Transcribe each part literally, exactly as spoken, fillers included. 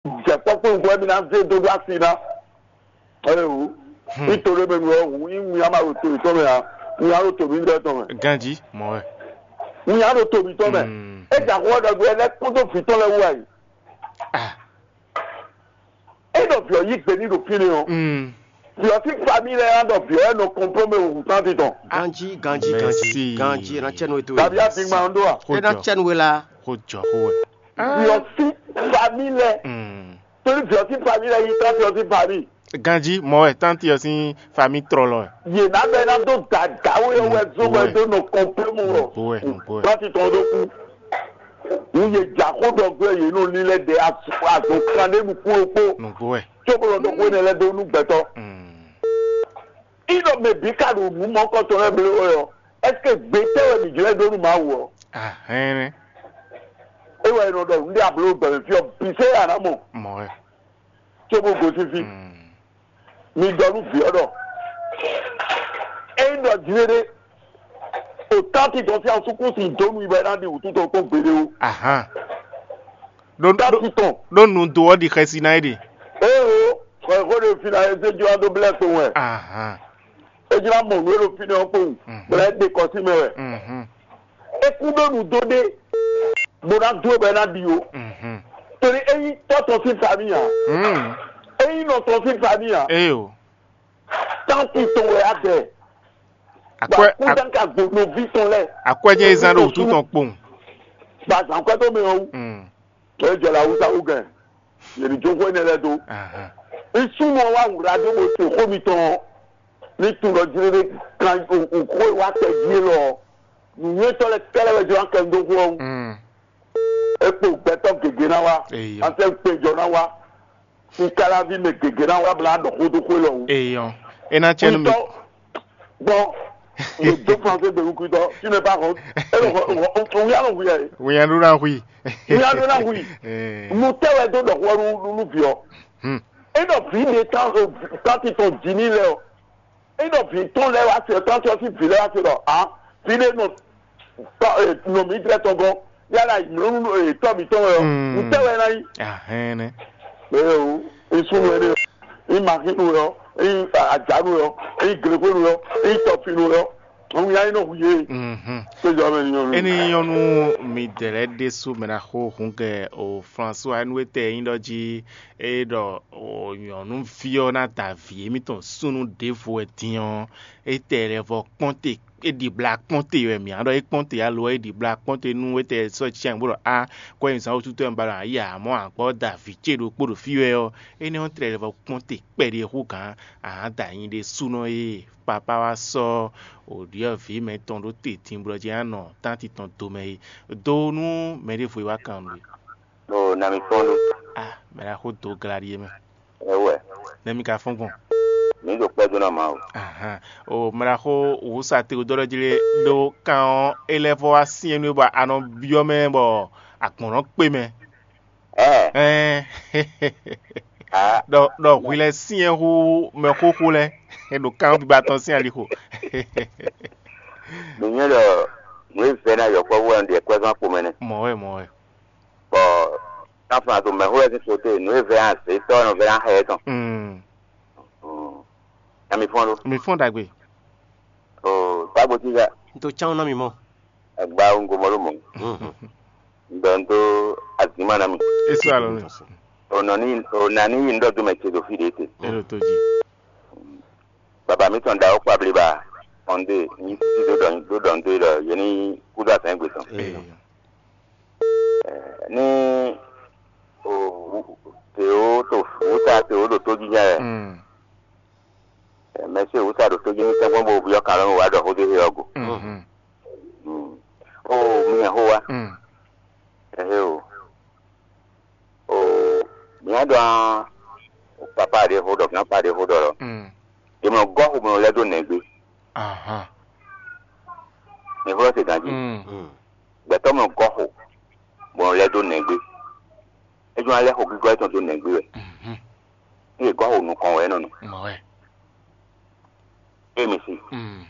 Jɛ kpɔ́kpɔ́ nukún wɛ mi ná zé dó ɖó asi ná. Ɛyɛwò, ní to ɖé mɛ nu ɔ́, wǔ nyí winnyá ma ɖo to yětɔn mɛ ǎ. Winnyá ɖo to mǐdɛɛ tɔn mɛ. Ganjí, mɔ̌ wɛ. Winnyá ɖo to mǐtɔn mɛ. Mm. É jɛ axɔ ɖɔgbé lɛ́ɛ kpódó vǐ tɔn lɛ́ɛ wú wɛ yi. Ah. É ɖɔ vǐ ɔ́ yí gbe ní ɖo fínɛ́ ɔ́. Mm. Vǐ ɔ́ sín famílí lɛ́ɛ ná ɖɔ vǐ ɔ́ wɛ nɔ kɔnplɔ́mɛ hǔn tánti tɔn. Ganjí, ganjí, ganjí, Mɛsi. Ganjí, é ná cɛ nú we tó. Tàbí àbí máa ń dó à. Xó É ná jɔ. Cɛ nú we lá. Xó jɔ xó wɛ. Vǐ ɔ́ sín famílí lɛ́ɛ. Mm. Torí vǐ ɔ́ sín famílí lɛ́ɛ yí tánti ɔ́ sín famílí. Ganjí, mɔ̌ wɛ tánti ɔ́ sín famílí tlɔlɔ wɛ. Yě ná bɛ ná dó dǎdáwé ɔ́ wɛ zó wɛ dó nɔ kɔnplɔ́mɛ wɛ. Nǔgbó wɛ, nǔgbó wɛ. Tánti tɔn ɖó kú. Nú yě jǎ xó ɖɔ gbé yě nɔ lílɛ́ ɖɛ azɔn kan ɖé nukún ɖokpó. Nǔgbó wɛ. Cóbó nɔ ɖɔ xó énɛ́ lɛ́ɛ dó nú gbɛtɔ́. Mm. Ínɔ mɛ bǐ ka ɖo nǔ mɔ̌kɔtɔn lɛ́ɛ bló wɛ ɔ́, ɛseke gbe tɛ́ wɛ mǐ jlɛ́ dó nú Mawu ɔ́? Ahɛ́nɛ́. É wɛ è nɔ ɖɔ nǔɖé abló gbɛmɛ fí ɔ́ bǐ sɛ́ yě a nǎ mɔ. Mɔ̌ wɛ. Cóbó gosín fí. Mm. Mi ɖɔ nú vǐ ɔ́ ɖɔ ényí ɖɔ jlé ɖé, o tánti tɔn sín asúkúsi dó nu i bɔ é ná ɖi wǔtu tɔn kpɔ́n gbeɖé ó. Ahán. Ɖó ɖó Tánti tɔn. Ɖó nu do ɔ́ ɖi xɛsi ná é ɖe. Éewo, xɔ xó ɖe fí ná é zé jó ná dó blɛ́ kpowun wɛ. Ahán. É jlá mɔ nǔ e ɖo fínɛ́ ɔ́ kpowun, Mhm. bɔ é ɖe kɔ sí mɛ wɛ. Mhm. É kún ɖó nǔ dó ɖé, bó ná dó bɔ é ná ɖi ó. Mhm. Torí é nyí tɔ́ tɔn sín famí ǎ. Mhm. É nyí nɔ tɔn sín famí ǎ. Éyo. Tánti tɔn wɛ á bɛ. Bɔ Akwɛ akúndánka gbo nɔví tɔn lɛ́ɛ. Akwɛ jẹ́ ezan ɖo wútu tɔn kpowun. Ba zǎn kwɛ́ tó mɛ ɔ́ wú. Mm. Ɛ jɛ la wusa wú gɛn. Yě ní jó xó énɛ́ lɛ́ɛ dó. Ahán. Nsúmɔ wá wǔ ɖa dó bó se xó mitɔn ɔ́. Ní tunwun ɖɔ jlé ɖé kan xó e wá kɛ jí élɔ́ ɔ́, nǔnywɛ́tɔ́ lɛ́ɛ kɛ́lɛ́ wɛ jló ná kɛ dó xó ɔ́ wú. Mm. É kpo gbɛtɔ́ gěgé ná wá, Eyɔ. Asɛ́ kpejɔ ná wá, síkáláví mɛ gěgé ná wá blá ɖɔ xó dó xó élɔ́ wú. Eyɔ. É ná cɛ nú mi. Gbɔn, le do français de wukutɔ, tu n'es pas honte. É lɔ wíyá lɔ wíyá yìí. Wíyá ló ná hui. Wíyá ló ná hui. Mo tẹ́ wɛ dó ɖɔ xó nú nú vǐ ɔ́. Hmm. É ɖɔ vǐ ɖe tán tán ti tɔn jǐ ní lɛ ɔ́. É ɖɔ vǐ tɔn lɛ́ wá se tɔn tɔn sín vǐ lɛ́ wá se ɖɔ a vǐ ɖé nɔ tɔ nɔ mǐ dlɛ́ tɔn gɔ́n yálà mlɔ́nú tɔ́ mǐtɔn wɛ ɔ́, Mm. Ntɛ́ wɛ ná nyí? Ahɛn nɛ. Eye o, nsúnú wɛ ɖé, nyí maxínu wɛ ɔ́, nyí ajánu wɛ ɔ́, nyí glexwénu wɛ ɔ́, nyí tɔfinu wɛ ɔ́, òun yá nyí nɔ hu yé. Mhm. Péjọ mɛ ní nyɔnu. Eni nyɔnu midɛɛ lɛ́ɛ ɖésú mɛ ná xo hǔngɛ o François Nuetɛ nyí ɖɔ jí é ɖɔ o nyɔ̌nuví ɔ́ ná da vǐ émítɔn súnnu ɖěvo wɛ din ɔ́, étɛ́ lɛ́ vɔ kpɔ́n te é ɖi bla kpɔ́n te wɛ mǐ á ɖɔ é kpɔ́n te alo é ɖi bla kpɔ́n te nú étɛ́ sɔ́ cyɛn bó ɖɔ á kɔ́ nyi zǎn wútu tɔn ba ɖo ayǐ ǎ mɔ̌ a gbɔ́ da vǐ ce ɖokpó ɖo fí wɛ ɔ́, énɛ́ ɔ́ tlɛ lɛ́ vɔ kpɔ́n te kpɛɖé hú gǎn a nǎ da nyi ɖésúnɔ e papá wá sɔ́ wǒ ɖyɔ́ vǐ mɛtɔn ɖó te din bó ɖɔ jɛ ná nɔ tánti tɔn domɛ é. Do nú mɛ ɖěvo e wá kan nǔ é. Ɖo nami kpɔ́n ɖó. Ah, mɛ ɖaxó do gla ɖíe mɛ. Ɛwɛ. Nɛ mi ka fɔ́n gbɔn. Mi ɖo kpɛ́ dó ná Mawu. Ahan. O mɛ ɖaxó wǔsatɛn dó ɖɔ jí lé ɖó kan ɔ́, é lɛ́ vɔ wá syɛ́n nú é bɔ a nɔ byɔ́ mɛ bɔ agbɔ̌n nɔ kpé mɛ. Ɛ. Ɛn. Ah. Ɖɔ ɖɔ hwi lɛ syɛ́n hú mɛ xóxó lɛ́ɛ ɖo kan ɔ́ biba tɔn sín alixo. Mi nyɛ ɖɔ nǔ e vɛ́ ná yɔkpɔ́vú wɛ un ɖe kwɛ́zɔ́n kpo mɛ nɛ́. Mɔ̌ wɛ, mɔ̌ wɛ. Bɔ táfɔn ato mɛxó wɛ sín kote nǔ e vɛ́ ná zě tɔ́ ɔ́ nɔ vɛ́ ná xɛ ɛ tɔn. Mm. Mm. Nya mi fɔ́n lo. Mi fɔ́n ɖagbe. O tágbo tí ya. N to cán ná mi mɔ. Agba ŋgo mɔ ló mɔ. Mhm. Ŋdɔ n tó azǐma ná mi. Eso alɔ mi. O nɔ ní o nà ní yi ŋdɔ dó mɛ ce ɖo fí ɖě te. Elo tó jí. Baba mi tɔn da ó kpa bliba. Ɔn dé ní títí dó dɔn dó dɔn dó lɔ yé ní kúdó azɛn gbé tɔn. Ee. Ní o te ó to wúta te ó ɖo tó jíjá yɛ. Mm. Mɛsí wúta ɖo tó jí ní tɛ́nkpɔ́n bó byɔ́ kan lɔ́ mɛ wá ɖɔ xó dó xé ɔ́ go. Mhm. Mm. O mi hɛn xó wá. Mm. Ɛhɛ o. O mi hɛn ɖɔ papa ɖé xó ɖɔ, grand-papa ɖé xó ɖɔ lɔ. Mm. Yě mɔ gɔ́ xó mɔ lɛ́ dó nɛ̌gbé. Ahan. Mi xó lɔ se ganjí. Mm. Gbɛtɔ́ mɔ gɔ́ xó mɔ lɛ́ dó nɛ̌gbé. É jɔ ná lɛ́ xo gígɔ́ étɔn dó nɛ̌gbé wɛ. Mhm. Ní yě gɔ́ xo nukɔn wɛ é nɔ nɔ. Mɔ̌ wɛ. É mi si. Mm.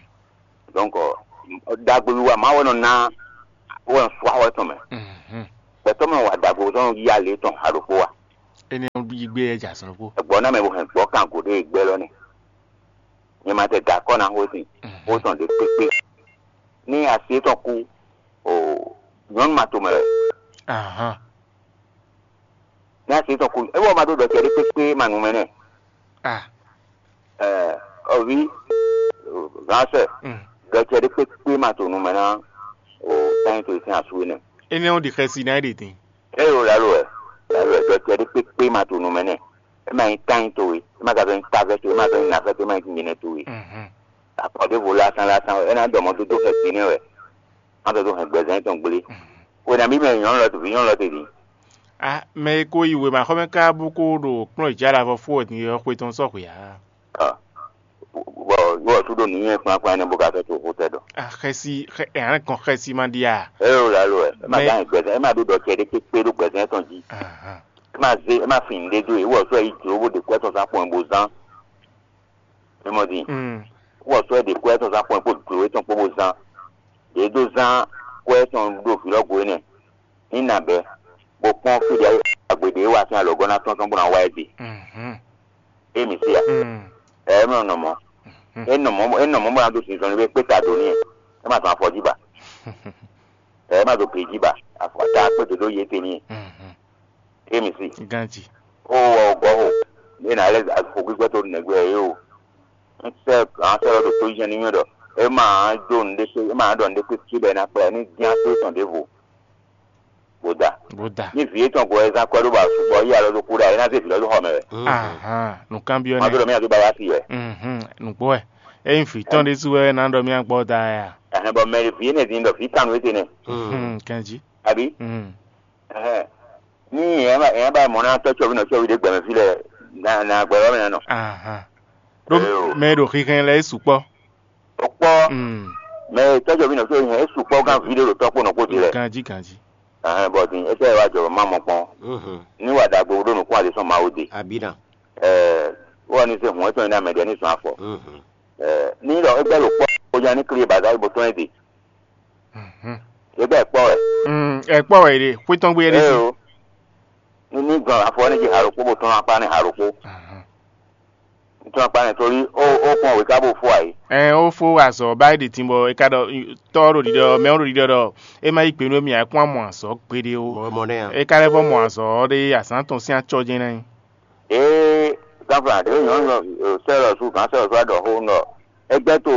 Donc, ɖagbewiwa Mawu wɛ nɔ ná wɛ nɔ sú axɔ étɔn mɛ. Mhm. Gbɛtɔ́ mɛ wa ɖagbe tɔn yí alě tɔn ha ɖokpó wa. Énɛ́ ɔ́ yi gbé yɛ jɛ azɔn ɖokpó. Gbɔ̌ ná mɛ bó hɛn gbɔ̌ kan gǒ ɖé gbɛ́ lɔ nɛ́. Nyɛ ma tɛ da akɔ́ ná xó sin, xó tɔn ɖě kpékpé. Ní asi étɔn kú, o nyɔ̌nu ma tomɛ wɛ. Ahán. Ní asi étɔn kú, é wɔ ma ɖó ɖɔ cɛ ɖé kpékpé ma nu mɛ nɛ́. Ah. Ɛɛ, ɔví, gǎnsɛ, Mm. ɖɔ cɛ ɖé kpékpé ma to nu mɛ ná, o tányi to sín asú énɛ́. Énɛ́ ɔ́ ɖi xɛsi ná é ɖe din. É ɖo lǎlo wɛ, lǎlo wɛ, ɖɔ cɛ ɖé kpékpé ma to nu mɛ nɛ́. É ma nyí tányi towe, é ma ka zɔ́n nyí tavɛ́ towe, é ma zɔ́n nyí nǎvɛ́ towe, é ma nyí jǐnjɛ́nɛ towe. Mhm. Akɔ ɖěvo lásán lásán wɛ, é ná ɖɔ mɔ dó dó xɛsi nɛ́ wɛ. Má dó dó hɛn gbɛzɛn tɔn gblé. Mhm. Wěnamí mɛ nyɔ̌nu lɔ vǐ nyɔ̌nu lɔ te din. A mɛ e ko yi wěmaxɔmɛ ká bó ko ɖo kplɔ́n jǎ ɖo avɔ fó wɛ din ɔ́, xwe tɔn sɔ́ xwe ǎ. Ɔ, bɔ yóò sú ɖo nǔnywɛ́ kplán kplán énɛ́ bó ka fɛ to xó tɛ ɖɔ. A xɛsi xɛ ɛ hɛn gɔn xɛsi ma ɖi a. É ɖo lǎlo wɛ, é ma Mɛ- gán gbɛzɛn, é ma ɖó ɖɔ cɛ ɖé kpékpé ɖó gbɛzɛn tɔn jí. Ahan. É ma zé, é ma fin nǔɖé dó e, wɔ sɔ́ yi jlǒ bó ɖe kwɛ́ tɔn zán kpɔn bó zán. É mɔ din. Mm. Wɔ sɔ́ ɖe kwɛ́ tɔn zán kpɔn kpó jlǒ tɔn kpó bó zán. Ɖě dó zán kwɛ́ tɔn ɖo vǐ lɔ go énɛ́. Ní nǎ bɛ́, bó kpɔ́n fí ɖě agbe ɖě wá sín alɔgɔ́ ná tɔ́n tɔn bó ná wá ɛ gbe. Mhm. É mǐ sí a? Mm. Ɛ é mɔ nɔ mɔ. Mhm. É nɔ mɔ é nɔ mɔ bó ná dó sin zɔnlin bó kpé ta dó n'i. É ma tɔn afɔ jí ba. Ɛ é ma dó gbe jí ba. Afɔ ta kpé dó dó yě te n'i. Mhm. É mǐ sí. Ganji. Ó wɔ gɔ́ xo. Ní nǎ lɛ́ xo gbígbɛ́ tó nɛgbɛ é o. Ń sɛ́ gǎn sɛ́ lɔ ɖo tó yíyá ní mì ɖɔ é ma dó nǔɖé kpé é ma ɖɔ nǔɖé kpé cí bɔ é ná kplá ɛ ní dín asú tɔn ɖěvo. Bó da. Bó da. Ní vǐ étɔn ko wɛ zán kwɛ́ ɖó ba sukpɔ yí alɔ ɖó kú ɖa é ná zé vǐ lɔ dó xɔ mɛ wɛ. Ahan, nǔkanbyɔ́ má nɛ́. Dó ɖɔ mí adó ba yá sí wɛ. Mhm, nǔgbó wɛ. Ényí vǐ tɔn ɖésú wɛ ná ɖɔ mí agbɔ da ya. Ɛhɛn bɔ mɛ vǐ énɛ́ din ɖɔ vǐ kannu étɛnɛ. Mhm, kanjí. Àbí? Mhm. Ɛhɛn. Ní èèyàn bá èèyàn bá mọ̀ náà tɔ́ cɔ́bí nɔ cɔ́bí ɖé gbɛmɛ fí lɛ na na gbɛ wá mɛ nɔ. Ahan. Ɖó Ee o. Mɛ e ɖo xixɛn lɛ́ɛ é sukpɔ́. Ó kpɔ́ Mm. Mɛ tɔ́jɔbí nɔ tó yẹn é sukpɔ́ gán ví ɖé ɖo tɔ́kpó nɔ kpó dilɛ. Ganjí ganjí. Ɛhɛn bɔ din é tɛ wá jɔ má mɔ kpɔn. Mhm. Ní wà ɖagbe ɖó nukún àdé sɔn Mawu de. Abina. Ɛɛ wọ́n ní se hùn é tɔn ní amɛ ɖɛ ní sɔn afɔ. Mhm. Ɛɛ ní ɖɔ é gbɛ ɖo kpɔ́ ó nya ní kli bàzá bó tɔn é de. Mhm. É gbɛ kpɔ́ wɛ. Mm, ɛ kpɔ́ wɛ ɖe xwé tɔn gbé ɖé Ee sí. O. Ní ní gan afɔ ní jí haɖokpó bó tɔn akpá ní haɖokpó. Mhm. Tɔn akpá ní torí ó ó kpɔn wěká bó fó ayé. Ɛ ó fó azɔ bá é ɖi tin bɔ é ka ɖɔ tɔ́ ɖo ɖiɖɔ mɛ ɔ́ ɖo ɖiɖɔ ɖɔ é má yí gbe nú émí ǎ é kún amɔ azɔ̌ gbeɖé ó. Mɔ mɔ nɛ a. É ka lɛ́ vɔ mɔ azɔ̌ ɔ́ ɖé azǎn tɔn sín acɔ́ jɛ́n ná nyí. Ee gánflán ɖě nyɔ̌nu sɛ́lɔ̌ sú gǎn sɛ́lɔ̌ sú aɖɔ xó nɔ ẹgbẹ́ tó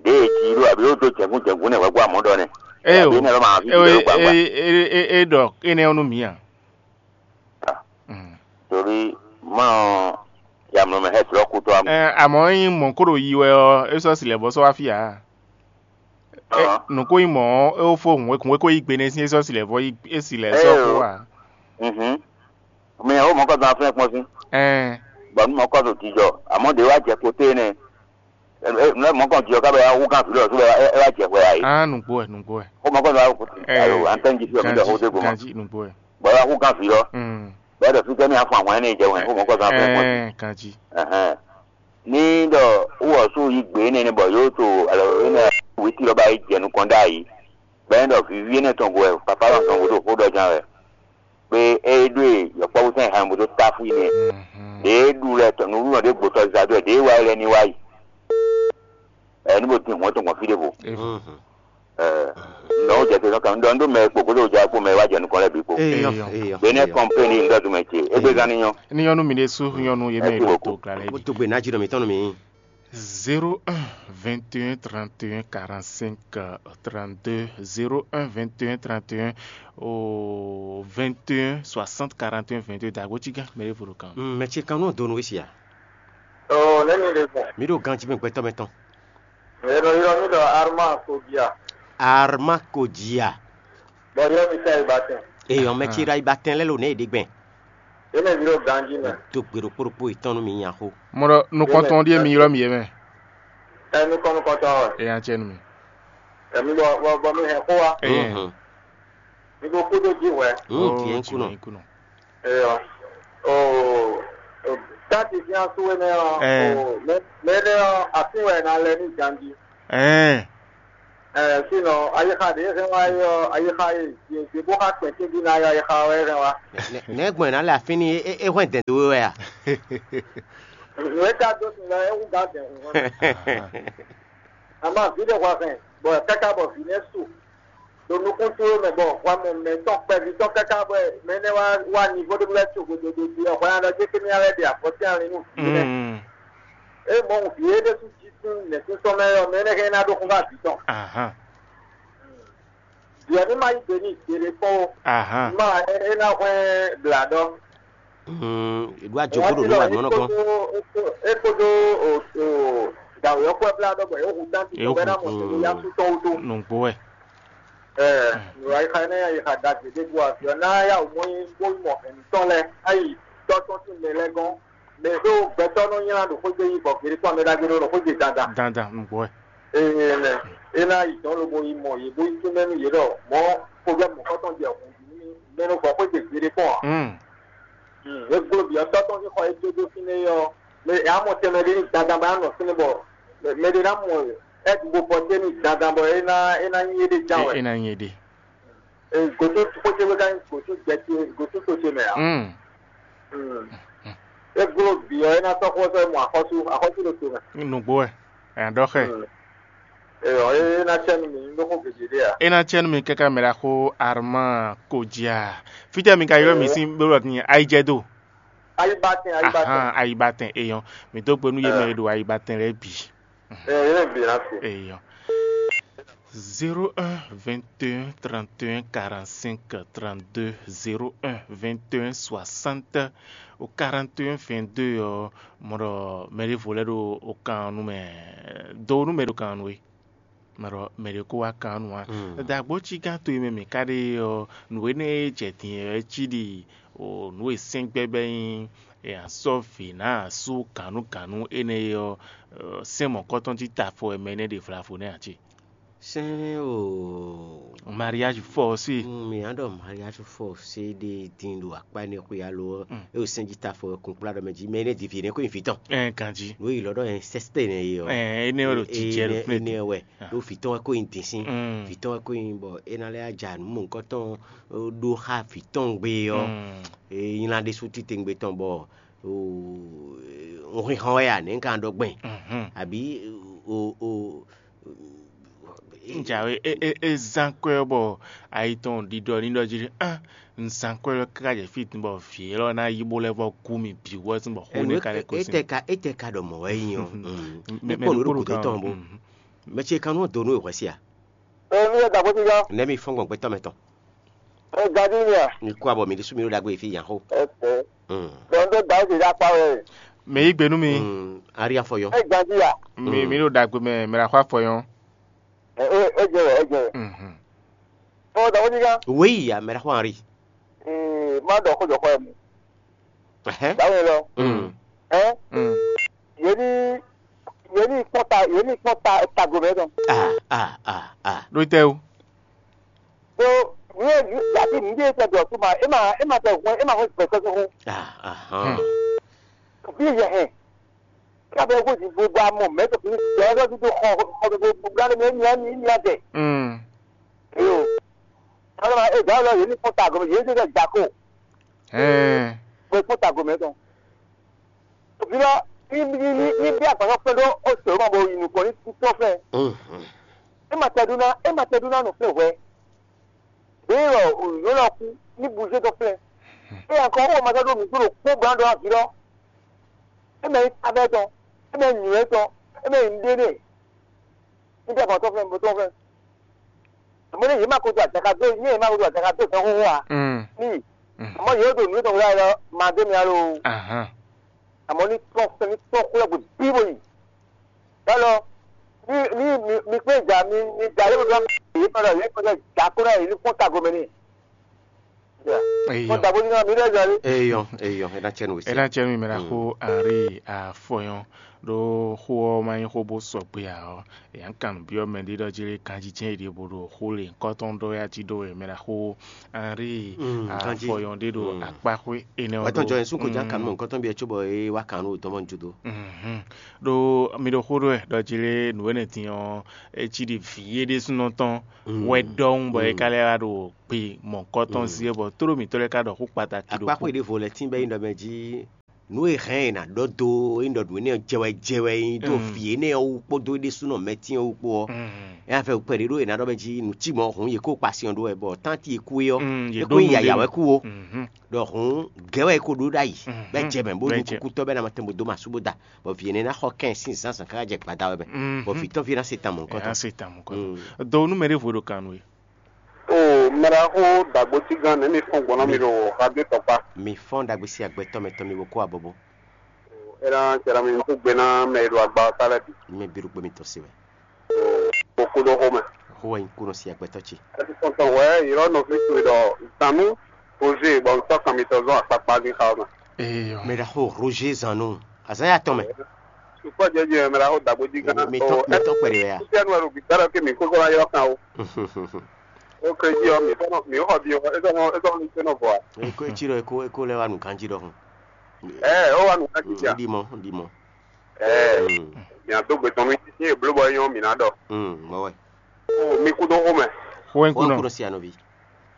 ɖě e jí ɖó àbí ó dó jɛ̌gún jɛ̌gún nɛ hwɛ̌ gbɔ amɔ̌ ɖɔ nɛ. Ée o Àbí nɛ lɔ ma fi é ɖɔ gbangba. É é é é ɖɔ énɛ́ ɔ́ nú mǐ a. Mm. Torí mɔ yamlɔ mɛ hɛ srɔ kutɔ am. Ɛ àmọ́ nyí mɔ̌ kó ɖo yi wɛ ɔ́ é sɔ́ si lɛ̌ bɔ sɔ́ wá fí ǎ. É Ɔ́. Nǔ kó nyí mɔ̌ ɔ́ é wó fó hǔn é kó yí gbe nɛ́ sín é sɔ́ si lɛ̌ vɔ yí é si lɛ̌ sɔ́ Ée xó o. Ǎ. Mhm. Mɛ o mɔkɔ zan aflɛ kpɔn sín. Ɛn Bɔ nu mɔkɔ zo jijɔ amɔ ɖe wa jɛ kote nɛ. Nɛ mɔkɔ jijɔ ka bɛ ya wu kan fi lɔ so bɛ e wa jɛ hwɛ ayi. Á nǔgbó ɛ nǔgbó ɛ. O mɔkɔ zo awo kote. Ɛ Ayo antɛn ji fi o mi dɔ ganji o de goma. Ganji nǔgbó ɛ. Bɔ ya wu kan fi lɔ. Mm. Bɛ dɔ fi kɛ mi afɔ ahwan ne jɛ wɛn o mɔkɔ zan aflɛ kpɔn sín. Ɛn ganji. Ɛhɛn. Ní ɖɔ wowɔ sú yi gbě énɛ́ bɔ yǒ to alɔ énɛ́ wěti lɔ ba yi jɛ nukɔn ɖ'ayǐ. Bɔ é ɖɔ vǐví énɛ́ tɔn gbo wɛ papá lɔ tɔn gbo ɖo xó ɖɔ ján wɛ. Pé é ɖó e yɔkpɔ́vú sɛn hɛn bó dó táfú yi nɛ. Ɖěe ɖu lɛ tɔn nǔɖuɖu ɖé gbotɔ zizadó wɛ ɖěe wá yi lɛ ní wá yi. Ɛ ní bó tin hɔn tɔn gbɔn fí ɖěvo. Ɛ nɔ ó jɛ te nɔ kan ɖɔ ndó mɛ kpo kódó ja kpo mɛ wá jɛ nukɔn lɛ bǐ kpo. Eyɔ, eyɔ. Benɛ kɔmpéni ŋdɔ dùmɛ ce égbé gán ní nyɔ. Ní nyɔnu mi ɖé sú nyɔnu yé mɛ Ɛ ti ɖo wòkú. To gla lɛ Mo bi. To gbe ná jí nɔ mi tɔn nɔ mi. Zéro un vingt et un trente et un quarante-cinq trente-deux, zéro un vingt et un trente et un au vingt et un soixante quarante et un vingt-deux. Dago tsiga mɛ ɖé vo ɖo kan. Mɛ ce kan nɔ do nú we sia. Oh, neni ɖe fún. Mi ɖo ganji mɛ gbɛtɔ mɛ tɔn. Ero yɔ mi ɖɔ Arma Kodia. Arma Kodia. Bɔ yɔ mi sa ibatɛn. Eyɔ mɛ ce ra ibatɛn lɛ lo ne ɖe gbɛn. Ene mi ɖo ganji mɛ. Do gbe ɖokpo ɖokpo etɔn nú mi nya xo. Mo ɖɔ nukɔntɔn ɖie mi ylɔ mi yɛ mɛ. Enu kɔnu kɔntɔn wɛ. Eya tsɛ nu mi. Emi bɔ bɔ bɔ mi hɛn xó wa. Eyɛ. Mhm. Mi ɖo kúdó jí hwɛ. Mm, Oh, tiɛ ŋkunɔ. Tiɛ ŋkunɔ. Eyɔ. O o tati fi asu wɛ nɛ ɔ. Ɛ. O mɛ mɛ nɛ ɔ afi wɛ na lɛ ní ganji. Ɛɛ. Ɛɛ, sinɔ ayixa ɖě hɛn wá é ɔ́, ayixa e Jezu bó xá kpɛ̌n tɛ́ntin ná ɔ́, ayixa ɔ́ wɛ hɛn wá. Nɛ̌ gbɔn è nǎ lɛ afínní é hwɛ́n dɛ̌n dó we wɛ a? Nǔ e ka dó sin lɔ é hú gǎn dɛ̌n hǔn hɔn. Amá vǐ ɖé hwa hɛn, bɔ káká bɔ vǐ nɛ́ su ɖo nukún towe mɛ, bɔ hwa mɔ mɛ tɔn kpɛví tɔn káká bɔ mɛ énɛ́ wá wá nivo ɖé bó lɛ́ tso gododo jí ɔ́, hwɛ ná ɖɔ jé kémí ná lɛ́ ɖe avɔtɛ́n ali nú vǐ nɛ́. É mɔ vǐ é ɖésú jí sín nɛ̌sínsɔ́n mɛ ɔ́, mɛ énɛ́ hɛn ná ɖó xó xá vǐ tɔn. Vǐ ɔ́ ní ma yí gbe n'i gbeɖé kpɔ́n ó. Má é ná hwɛ́n blǎɖɔ. È ɖó ajɔ̌ bó ɖo nǔ wa nǔ ɔ́ nɔ gɔ́n. É kpódó dǎwe ɔ́ kpó blá ɖɔ bɔ yě hu tánti tɔn bɔ é ná mɔ tɛnmɛ yá sú tɔn wútu. Nǔgbó wɛ. Ɛɛ, nǔ ayixa énɛ́ ayixa ɖagbe ɖé bó afi ɔ́ ná yá wǔ mɔ nyi bó yi mɔ hɛ̌nnu tɔn lɛ́ɛ ayi tɔ́ tɔn sín mɛ lɛ́ɛ gɔ́n. Mɛ ɖó gbɛtɔ́ nɔ nylá ɖo xwé gbe yi bɔ gbeɖé tɔn mɛ ɖagbe ɖó ɖo xwé gbe dandan. Dandan nǔgbó wɛ. Eye lɛ é ná yi dɔn lobo yi mɔ yě bó yi tún mɛ nú yě ɖɔ mɔ̌ xovɛ́ mɔ̌kɔtɔn jɛ hǔn jí nú mɛ nɔ gbɔ xwé gbe gbeɖé kpɔ́n ǎ. Mm. É gbló bǐ ɔ́ tɔ́ tɔn sín xɔ e dó dó fínɛ́ é ɔ́, mɛ é ná mɔ tɛnmɛ ɖé ní dandan bɔ é ná nɔ fínɛ́ bɔ mɛ ɖé ná mɔ ɛ́dúgbò pɔtɛ́ ní dandan bɔ é ná é ná nyí éɖée ján wɛ. É ná nyí éɖée. Gǒtún xwé ce wé ká nyí gǒtún jɛ ce gǒtún to ce mɛ ǎ. Mm. Mm. É gbló bǐ ɔ́, é ná sɔ́ xó sɔ́ mɔ axɔ́sú, axɔ́sú ɖo to mɛ. Nǔgbó wɛ, ɛ nǎ ɖɔ xɛ. Mm. Eyɔ, é ná cɛ nú mi, un ɖó xó gěgé ɖé ǎ. É ná cɛ nú mi káká mɛ ɖaxó Armand Kodjia. Fítɛ́ mi ka ylɔ́ mì sín bó ɖɔ din ayijɛ do. Ayibatɛn, ayibatɛn. Ahan, ayibatɛn eyɔn. Mi dó gbe nú yé mɛ e ɖo ayibatɛn lɛ́ɛ bǐ. Ɛ, yé mɛ bǐ ná se. Eyɔn. Zéro un vingt et un trente et un quarante-cinq trente-deux, zéro un vingt et un soixante quarante et un vingt-deux ɔ́, mɔ ɖɔ mɛ ɖěvo lɛ́ɛ ɖo o kan ɔ́ nú mɛ, do nú mɛ ɖo kan ɔ́ nú we. Mɔ ɖɔ mɛ ɖě ko wá kan ɔ́ nú ǎ. Dǎgbó cí gán to e mɛ mǐ ka ɖe ɔ́, nǔ énɛ́ e jɛ din ɔ́, é cí ɖi o nǔ e sɛ́n gbɛ́ bɛ́ nyí e a sɔ́ vǐ ná asú gǎnúgǎnú énɛ́ é ɔ́, sɛ́n mɔ̌kɔ́tɔn cí tafɔ wɛ mɛ énɛ́ ɖe vlavo nɛ́ ǎ cí. Sɛ́n o. Mariage forcé. Mm, mǐ ná ɖɔ mariage forcé ɖé din ɖo akpá énɛ́ xwé alo ɔ́, é o sɛ́n jí tafɔ wɛ kun kplá ɖɔ mɛ jí, mɛ énɛ́ ɖi vǐ énɛ́ ko nyi vǐ tɔn. Ɛ ganjí. Nǔ e yǐ lɔ ɖɔ inceste nɛ é ɔ́. Ɛ énɛ́ wɛ ɖo jijɛ ɖo fínɛ́. Énɛ́ wɛ ɖó vǐ tɔn wɛ ko nyi din sín. Vǐ tɔn wɛ ko nyi bɔ é ná lɛ́ ja nǔ mɔ̌hunkɔtɔn ɖó xá vǐ tɔn gbe ɔ́. É nylá ɖésú titewungbe tɔn bɔ un xixan wɛ a nɛ̌ un ka ɖɔ gbɛn? Abǐ o o. Njawe é zán kwɛ ɔ́ bɔ ayi tɔn ɖiɖɔ ní ɖɔ jí ɖe ah, un zán kwɛ lɔ káká jɛ fí tun bɔ vǐ élɔ́ ná yi bó lɛ́ vɔ gú mì bǐ wɛ sín bɔ xó nɛ́ ka lɛ́ kó sín. Étɛ́ ka étɛ́ ka ɖɔ mɔ̌ wɛ é nyí ɔ́? Mɛ kpɔ́n nǔ ɖo gǔdo tɔn bó. Mɛ ce kan nú dó nú è hwɛ sí a? Ee, mi yɛ da bó ti yɔ. Nɛ̌ mi fɔ́n gbɔn gbɛtɔ́ mɛ tɔn? Ee, gadi mi a? Mi kú abɔ mi ɖésú mi ɖó ɖagbe fí yan xó. Ɛsɛ. Dɔn ɖó da ó ti dá kpá wɛ. Mɛ yí gbe nú mi. Ari afɔyɔn. Ee, gadi a? Mi mi ɖó ɖagbe mɛ mɛ ɖo axɔ afɔyɔn. Ee, ee, e jɛ wɛ, e jɛ wɛ. Ɔ, da ó ti yɔ. Wéyi a mɛ ɖo axɔ ari. Ee, má dɔ xó jɔ xɔ ɛ mu. Ɛhɛn. Báwo lɔ? Mm. Ɛ? Mm. Yě ní yě ní kpɔ́n ta yě ní kpɔ́n ta tago mɛ tɔn. Ah, ah, ah, ah. Ɖó tɛ o. So, ní yé ní yàtí ní yé tɛ dɔ tó ma é ma é ma tɛ hɔn é ma hɔn gbɛtɔ tó hɔn. Ah, ah, ah. Bí yɛ hɛn. Kí a bɛ kó di gbogbo amɔ mɛ tó fi ní tɛ ɛ lọ́dún tó xɔ xɔ gbogbo gbogbo alẹ́ mi ní ní ní ní àtẹ. Mm. Ee o. Alẹ́ ma é dá lọ yě ní kpɔ́n tago mɛ yě ní tɛ dà kó. Ɛɛ. Bɔ é kpɔ́n tago mɛ tɔn. Òbí lɔ ní ní ní ní bí agbǎn kpɛ́ ɖó ó sè ó ma bo yi nukɔn ní títọ́ fɛ. Ní ma tɛ ɖó ná é ma tɛ ɖó ná nɔ flɛ hwɛ. Ɖěe wɔ òyìnbó lɔ kú ní buzé tɔn flɛ. É yà kɔ ó ma tɛ ɖó nǔgbó ɖo kpó gbǎn ɖó avǐ lɔ. É mɛ nyí tábẹ́ tɔn, é mɛ nyǐ wɛ tɔn, é mɛ nyí ɖé nɛ. Ní bí agbǎn tɔn flɛ bó tɔn flɛ. Àmọ́ ní yě má ko do àjaka dó ní yě má ko do àjaka dó gan xóxó a? Ní àmọ́ yě ɖo nǔ tɔn wúlá lɔ ma dé mi alo. Àmọ́ ní tɔn fɛn ní tɔn xó lɛ́ gbe bí bó yi. Yálɔ ní ní mi mi kpé ja mi mi ja yé bó dó yé kpɛ́ lɔ yé kpɛ́ ja kó náà yé ní kpɔ́n tago mɛ ní. Eyɔ. Mɔ dabo ní mi ɖe jali. Eyɔ, eyɔ, é ná cɛ nú we. É ná cɛ nú mi mɛ ɖaxó Henri Afɔyɔn. Ɖó xó ɔ́ ma nyí xó bó sɔgbe ǎ ɔ́, yě ná kan nǔ byɔ́ mɛ ɖé ɖɔ jí lé kanjijɛ ɖě bó ɖo xó lě ŋkɔtɔn ɖɔ wɛ a jí ɖó wɛ mɛ ɖaxó Henri Afɔyɔn ɖé ɖo akpáxwé énɛ́ ɔ́. Wɛtɔn jɔ yɛn sún ko já kan nú mɔ̌hunkɔtɔn byɔ́ cóbɔ é wá kan nú wětɔn mɔ judó. Ɖó mi ɖo xó ɖó wɛ ɖɔ jí lé nǔ énɛ́ din ɔ́, é cí ɖi vǐ é ɖésúnɔ tɔn wɛ ɖɔhun bɔ é ka lɛ́ wá ɖo gbe mɔ̌hunkɔtɔn sí é bɔ tóɖó mǐtɔn lɛ́ɛ ka ɖɔ xó kpatakí ɖokpó. Akpáxwé ɖěvo lɛ́ɛ tín bɔ é nyí ɖɔ mɛ jí nǔ e hɛn è nǎ ɖɔ dó é nyí ɖɔ nǔ énɛ́ ɔ́ jɛ wɛ jɛ wɛ é nyí ɖó vǐ énɛ́ ɔ́ wú kpódó é ɖésúnɔ mɛtín ɔ́ wú kpó ɔ́, é ná fɛ kpɛɖé ɖó è nǎ ɖɔ mɛ jí nǔ cí mɔ̌ hǔn yě kó kpa sin ɔ́ ɖó wɛ bɔ tánti e kú é ɔ́, é kó nyí yǎyá wɛ kú ó. Ɖɔ hǔn gɛ̌ wɛ é kó ɖó ɖ'ayǐ bɔ é jɛ mɛ bó nyí kúkútɔ́ bɔ é ná ma tɛn bó dó masú bó da, bɔ vǐ énɛ́ ná xɔ kɛn sín zǎnzǎn káká jɛ gbada wɛ mɛ, bɔ vǐ tɔn ví ná se tan mɔ̌hunkɔtɔn. Ná se tan mɔ̌hunkɔtɔn. Do nú mɛɖěvo ɖo kan nú we. O mɛɖaxó dàgbòtígán nɛ̌ mi fɔ́n gbɔn ná mi ɖo radio tɔkpa? Mi fɔ́n ɖagbe sín agbɛtɔ́ mɛ tɔn mi bo kó abɔbɔ. É ná jɛ ná mi kó gbe ná mɛ e ɖo agba ɔ́ ta lɛ́ɛ bǐ. Mi bǐ ɖo kpé mitɔn se wɛ. Kókó ɖó xó mɛ. Xó wɛ nyí kúnɔ sín agbɛtɔ́ ce. Ɛ ti tɔn tɔn wɛ yǐlɔ nɔví towe ɖɔ zǎnú Roger bɔ un sɔ́ kan mitɔn zɔn akpakpa dín xa ɔ́ mɛ. Eyɔ. Mɛɖaxó Roger Zanu, azǎn ya tɔn mɛ. Sukpɔ́ jɛ́jɛ mɛɖaxó dàgbòjígán. Mi tɔn mi tɔn kpɛɖe wɛ ya? Kúkú ɛnu ɛnu gbígbá ɖɔ kí mi kókó ná ylɔ́ kan o. Ó ké jí ɔ́, mǐ tɔn mǐ xɔ ví ɔ́, é tɔn é tɔn ní tɛ́ nɔ vɔ a? Eko etsi ɖɔ eko eko lɛ wa nǔ ganjí ɖɔhun. Ɛ ó wa nǔ kan jí jà. Ɖi mɔ, ɖi mɔ. Ɛ mǐ á dó gbe tɔn nú yín e bló bɔ é nyɔ́ mǐ ná ɖɔ. Mɔ wɛ. Ó mi kú dó xó mɛ. Xó ɛ Wọ́n kúnɔ. Kúrò sí ànúbí.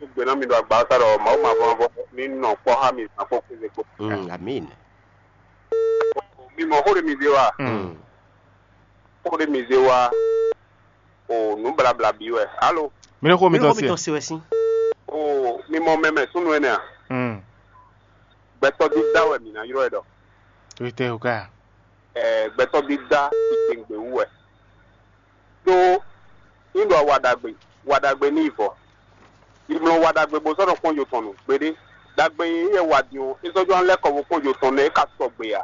Ó gbé ná mi ɖo agba ɔ́ sá ɖɔ Mawu ma vɔn vɔ ní nɔ kpɔ́ xá mi zǎn kpó kéze kpó. Amín. Mi mɔ xó ɖé mi zé wa. Xó ɖé mi zé wa. O nǔ blabla bǐ wɛ. Alo. Mi ɖo xó mi Mi tɔn xó mi se. Tɔn se wɛ sín. O mi mɔ mɛmɛ súnnu énɛ́ a? Mm. Gbɛtɔ́ dídá wɛ mǐ ná ylɔ́ ɛ ɖɔ. Tó tɛ o ká. Ɛ gbɛtɔ́ dídá titewungbe wú wɛ. Ɖó nyí ɖɔ wa ɖagbe, wa ɖagbe ní yi vɔ. Yi mlɔ wa ɖagbe bó sɔ́ nɔ kpɔ́n yo tɔn nǔ gbeɖé. Ɖagbe e yɛ wa din ɔ́, é sɔ́ jɔ ná lɛ́ kɔ bó kpɔ́n yo tɔn nɛ́ é ka sɔgbe ǎ.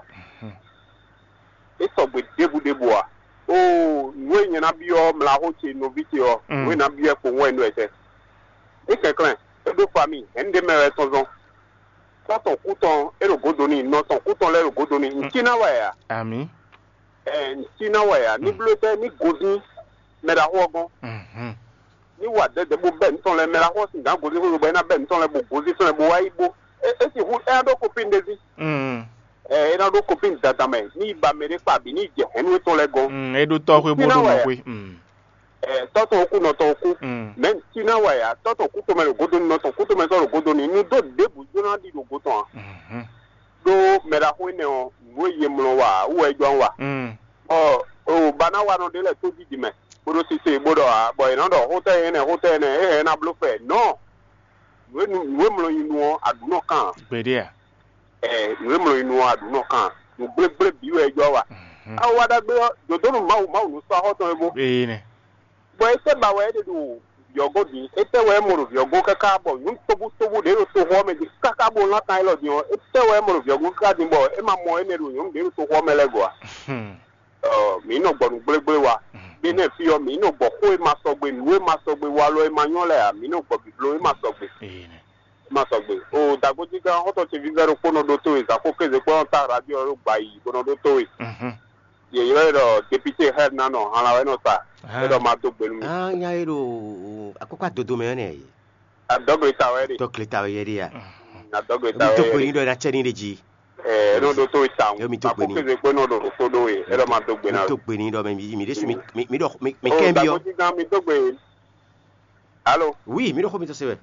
É sɔgbe ɖěbǔ ɖěbǔ ǎ. Oo, nǔ e nyɛ ná byɔ́ mlaxó ce nɔví ce ɔ́, nǔ e ná byɔ́ ɛ kpowun wɛ un ɖɔ ɛ tɛ́. É kɛnklɛ́n, é ɖó fami, hɛ̌nnu ɖé mɛ wɛ é tɔ́n zɔ́n. Tɔ́ tɔn kú tɔn, é ɖo gǒdo n'i, nɔ tɔn kú tɔn lɛ́ɛ ɖo gǒdo n'i. Un cí ná wɛ ǎ. Amǐ. Ɛ, un cí ná wɛ ǎ. Ní bló tɛ́, ní gozín mɛ ɖaxó ɔ́ gɔ́n. Mhm. Ní wa dɛ̌dɛ̌ bó bɛ́ nǔ tɔn lɛ́ɛ, mɛ ɖaxó ɔ́ sin gǎn gozín xwé bɔ é ná bɛ́ nǔ tɔn lɛ́ɛ bó gozín tɔn lɛ́ɛ bó wá yi bó. É é sixú é ná ɖó kopín ɖé ví. Mm. Ɛ, é ná ɖó kopín dada mɛ, ní yi ba mɛ ɖé kpa bǐ ní yi jɛ hɛ̌nnu étɔn lɛ́ɛ gɔ́n. Mm, é ɖó tɔ́ xwé bó Fí ná ɖó wɛ nɔ ǎ. Xwé. Mm. Ɛ, tɔ́ tɔn kú nɔ tɔn kú. Mm. Mɛ cí ná wɛ ǎ, tɔ́ tɔn kú tɔn mɛ ɖo gǒdo nɔ tɔn kú tɔn mɛ sɔ́ ɖo gǒdo n'i nú dó ɖěbǔ jló ná ɖi ɖo go tɔn ǎ. Mhm. Ɖó mɛ ɖaxó énɛ́ ɔ́, nǔ e yě mlɔ wa ǎ, wú wɛ é jɔ wa. Mm. Ɔ, o ba ná wa nɔ ɖé lɛ́ɛ tójíji mɛ, bó ɖó sise bó ɖɔ ǎ, bɔ è nǎ ɖɔ xótɛ́ énɛ́ xótɛ́ énɛ́, é hɛn ná bló fɛ. Nɔ̌, nǔ e nu- nǔ e mlɔ nyi nu ɔ́, aɖǔ nɔ kan ǎ. Gbeɖé a? Ɛ, nǔ e mlɔ nyi nu ɔ́, aɖǔ nɔ kan ǎ. Nǔ gblégblé bǐ wɛ é jɔ wa. Mhm. Awa ɖagbe ɔ́, dǒdónú Mawu Mawu nǔ sɔ́ axɔ́ tɔn e bó. Ee nɛ. Bɔ é tɛ́ ba wɛ é ɖe ɖo vǐ ɔ́ gɔ́n din? Étɛ́ wɛ é mɔ ɖo vǐ ɔ́ gɔ́n káká bɔ nyɔ̌nu tobutóbú ɖě ɖo toxo ɔ́ mɛ din káká bó lán kan élɔ́ din ɔ́, étɛ́ wɛ é mɔ ɖo vǐ ɔ́ gɔ́n káká din bɔ é ma mɔ énɛ́ ɖo nyɔ̌nu ɖě ɖo toxo ɔ́ mɛ lɛ́ɛ gɔ́ a? Ɔ, mǐ nɔ gbɔ nǔ gblégblé wa. Gbé nɛ́ fí ɔ́, mǐ nɔ gbɔ xó e ma sɔgbe, nǔ e ma sɔgbe, walɔ e ma nyɔ́ lɛ́ɛ ǎ, mǐ nɔ gbɔ bǐbló e ma sɔgbe. Ee nɛ. E ma sɔgbe. O dagbojígán xɔ́ntɔn ce vívɛ́ ɖokpó nɔ ɖótó e zǎn xó kéze kpɔ́ nɔ tá radio ɔ́ ɖo gbǎ yi bó nɔ ɖótó e. Mhm. Yě ylɔ́ ɛ ɖɔ depite Hɛr ná nɔ hanla wɛ nɔ sa. É ɖɔ ma dó gbe nú mi. Ah, nya e ɖo akɔkɔ adodo mɛ ɔ́ nɛ. Adɔgbe ta wɛ ɖe. Dɔkle ta wɛ yɛ ɖe ya. Adɔgbe ta wɛ. Mi dó gbe ní ɖɔ ná cɛ ní ɖe jí. Ɛ nɔ ɖo tó ta. Yo mi dó gbe ní. Akɔkɔ kpé nɔ ɖo tó ɖó ye. É ɖɔ ma dó gbe ná. Mi dó gbe ní ɖɔ mi mi ɖe su mi mi mi ɖɔ mi mi kɛ bi yɔ. Dagbojigan mi dó gbe. Alo. Oui, mi ɖo xó mi tɔn se wɛ.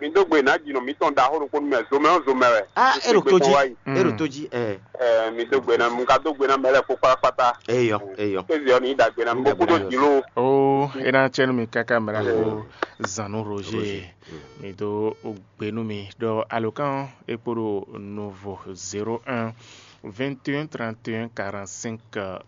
Mi dó gbe ná jinɔ mi tɔn da xó ɖokpó mɛ zomɛ ɔ́ zomɛ wɛ. Ah, e ɖo tó jí. E ɖo tó jí. Ɛ. Ɛ mi dó gbe ná mu ka dó gbe ná mɛ lɛ kpó kpátákpátá. Eyɔ, eyɔ. Kézi ɔ ní dagbe ná mi bó kúdó jǐ ló. O, e ná tsɛ nú mi káká mɛ la ko zan nú Roger. Mi dó gbe nú mi ɖɔ alokán e kpo ɖo novo zéro un vingt et un trente et un quarante-cinq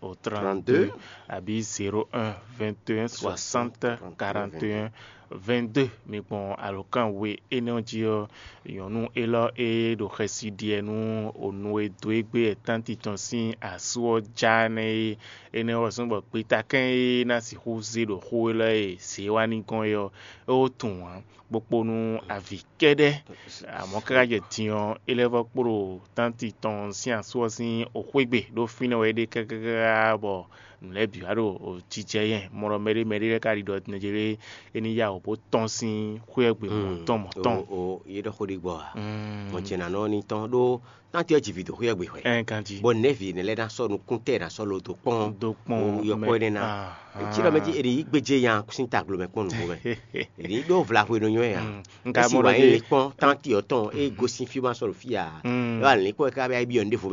au trente-deux, abǐ zéro un vingt et un soixante quarante et un vingt-deux. Mi gbɔn alǒkan we énɛ́ ɔ́ jí ɔ́, nyɔ̌nu élɔ́ e ɖo xɛsi ɖiɛ nú onu e dó égbé wɛ tánti tɔn sín asú ɔ́ já nɛ́ é. Énɛ́ ɔ́ zɔ́n bɔ gbetakɛ́n e ná sixú zé ɖo xó élɔ́ e zě wá ní gɔ́n é ɔ́, é wó tunwun ǎ, bó kpó nú avǐ kɛ́ɖɛ́. Amɔ̌ káká jɛ din ɔ́, é lɛ́ vɔ́ kpló tánti tɔn sín asú ɔ́ sín xwégbe ɖó fínɛ́ wɛ é ɖe káká bɔ nǔ lɛ́ɛ bǐ wá ɖo jijɛ nyɛ. Mɔ ɖɔ mɛɖé mɛɖé lɛ́ɛ ka ɖi ɖɔ nɛjɛlé é ní yá wǔ bó tɔ́n sín xwé ɔ́ gbe mɔ̌tɔn mɔ̌tɔn. O, yě ɖɔ xó ɖé gbɔ a? Mɔ ce nǎ nɔ ní tɔn ɖó tánti ɔ́ ji vǐ dó xwé ɔ́ gbe hwɛ. Ɛ ganji. Bɔ nɛ̌vi nɛ́ lɛ́ɛ ná sɔ́ nukúntɛ́ ná sɔ́ lo dó kpɔ́n. Dó kpɔ́n. Yɔkpɔ́ énɛ́ ná. Etí ɖɔ mɛ jí è nǐ yí gbéjé nya sín taglo mɛ kpɔ́n nǔgbó mɛ. È nǐ ɖó vlahwe nɔ nyɔ́ ɛ a? Nka mɔ ɖɔ jí kpɔ́n tánti ɔ́ tɔn é gosín fí ma sɔ́ ɖo fí a? Yɔ alǐn kpɔ́n ká bɛ yá bí ɔ́ ní ɖěvo.